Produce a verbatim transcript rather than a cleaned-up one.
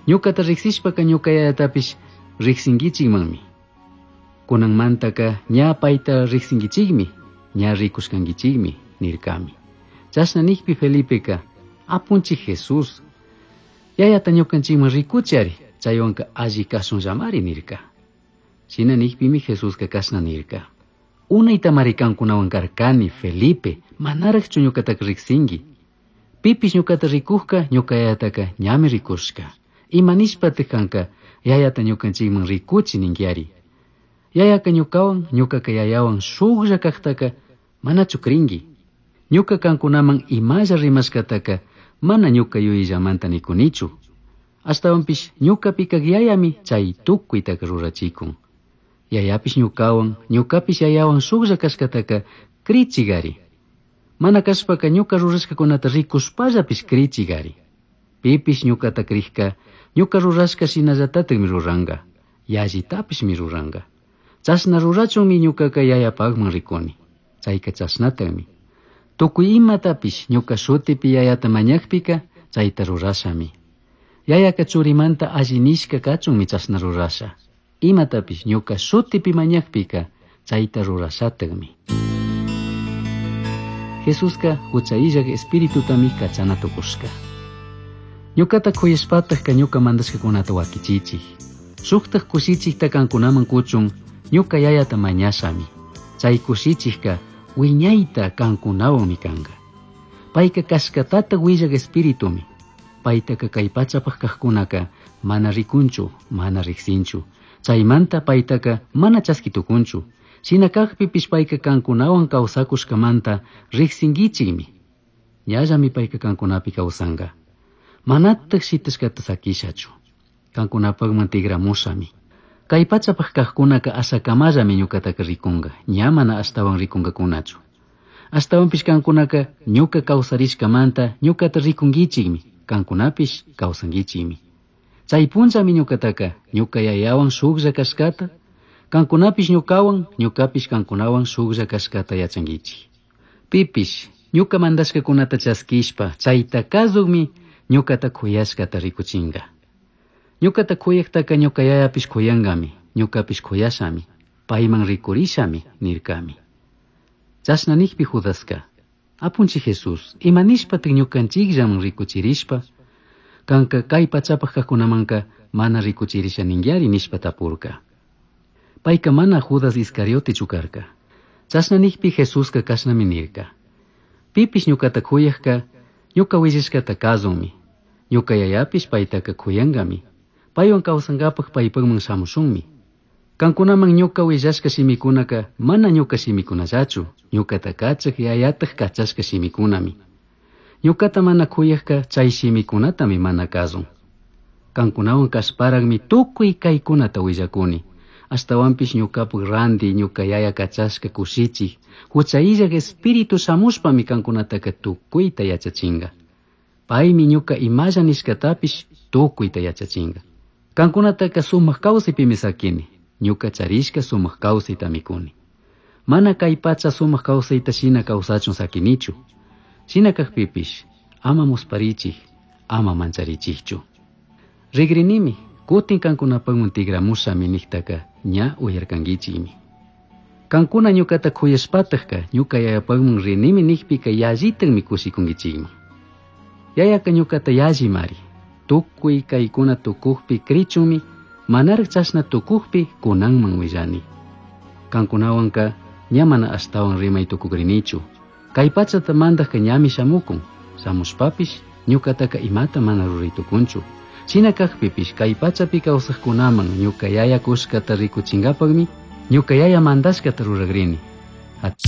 Ñucata riqsishpaka ñuca yayatapish riqsinkichikmanmi. Kunanmantaka ña payta riqsinkichikmi, ña rikushkankichikmi nirkami. Chashna nikpi Felipeka apunchik Jesús yayata ñukanchikman rikuchari chaywanka alli kashunllamari nirka. Shina nikpimi Jesuska kashna nirka. Unaytamari kankunawan karkani Felipe, manaraqchu ñuqataka riqsinki. Pipish ñuqata rikujka ñuka yayataka ñami rikushka. Ima nishpataq kanka yayata ñukanchikman rikuchi ninkiari. Yayaka ñukawan ñukaka yayawan shuklla kaqtaka manachu crinki. Ñuka kankunaman imalla rimashkataka mana ñuka yuyillamanta nikunichu. Ashtawanpish ñukapi kaq yayami chay tukuytaka rurachikun. Yayapish ñukawan, ñukapish yayawan shuklla kashkataka crichigari. Mana kashpaka ñuka rurashkakunata rikushpallapish crichigari. Pipish ñukata crijka, ñuka rurashka shinallatatakmi ruranka, yallitapishmi ruranka. Chashna rurachunmi ñukaka yayapakman rikuni. Chayka chashnatakmi. Tukuy imatapish ñuka shutipi yayata mañakpika chayta rurashami. Yayaka churimanta alli nishka kachunmi chashna rurasha. Imatapish ñuka shutipi mañakpika chayta rurashatakmi. Jesuska hucha illak espiritutami kachana tukushka. Ñukata kuyashpatakka ñuka mandashkakunata wakichichik. Shuktak kushichikta kankunaman kuchun ñuka yayata mañashami. Chay kushichikka wiñayta kankunawanmi kanka. Payka kashkatata willak espiritumi. Paytaka kay pachapaq kaqkunaka mana rikunchu, mana riqsinchu. Chaymanta paytaka mana chaskitukunchu. Shina kaqpipish payka kankunawan kawsakushkamanta riqsinkichikmi. Ñallami payka kankunapi kawsanka. Manataq shitashkata sakishachu. Kankunapaqman tigramushami. Kay pachapaq kaqkunaka ashakamallami ñukataka rikunka, ña mana ashtawan rikunkakunachu. Ashtawanpish kankunaka ñuka kawsarishkamanta ñukata rikunkichikmi, kankunapish kawsankichikmi. Chay punllami ñukataka ñuka yayawan shuklla kashkata, kankunapish ñukawan, ñukapish kankunawan shuklla kashkata yachankichik. Pipish ñuka mandashkakunata chaskishpa chayta kasukmi ñukata kuyashkata rikuchinka. Ñukata kuyaktaka ñuka yayapish kuyankami, ñukapish kuyashami, payman rikurishami nirkami. Chashna nikpi Judaska, apunchik Jesús, ima nishpatak ñukanchikllaman rikuchirishpa, kanka kay pachapaq kaqkunamanka mana rikuchirisha ninkiari nishpa tapurka. Payka mana Judas Iscariotechu karka. Chashna nikpi Jesuska kashnami nirka. Pipish ñukata kuyakka, ñuka willashkata kasunmi. Ñuka yayapish paytaka kuyankami. Paywan kawsankapaq paypaqman shamushunmi. Kankunaman ñuka willashka shimikunaka mana ñuka shimikunallachu, ñukata kachak yayataq kachashka shimikunami. Ñukata mana kuyakka chay shimikunatami mana kasun. Kankunawan kashparaqmi tukuy kaykunata willakuni. Ashtawanpish ñukapak ranti ñuka yaya kachashka kushichik, hucha illak espíritu shamushpami kankunataka tukuyta yachachinka. Paymi ñuka imalla nishkatapish tukuyta yachachinka. Kankunataka sumak kawsaypimi sakini, ñuka charishka sumak kawsaytami kuni. Mana kay pacha sumak kawsayta shina kawsachun sakinichu. Shina kakpipish, ama musparichik, ama mancharichikchu. Rigrinimi, kutin kankunapaqman tigramushami niktaka ña uyarkankichikmi. Kankuna ñukata kuyashpatakka ñuka yayapaqman rinimi nikpika yallitakmi kushikunkichikman. Yayaka ñukata yallimari. Tukuy kaykuna tukukpi krichunmi, manaraq chashna tukukpi kunanman willani. Kankunawanka ña mana ashtawan rimay tukukrinichu. Kay pachata mandaqka ñami shamukun, shamushpapish ñukataka imata mana ruray tukunchu. Shina kakpipish kay pachapi kawsaqkunaman ñuka yaya kushkata rikuchinkapaqmi ñuka yaya mandashkata ruragrini.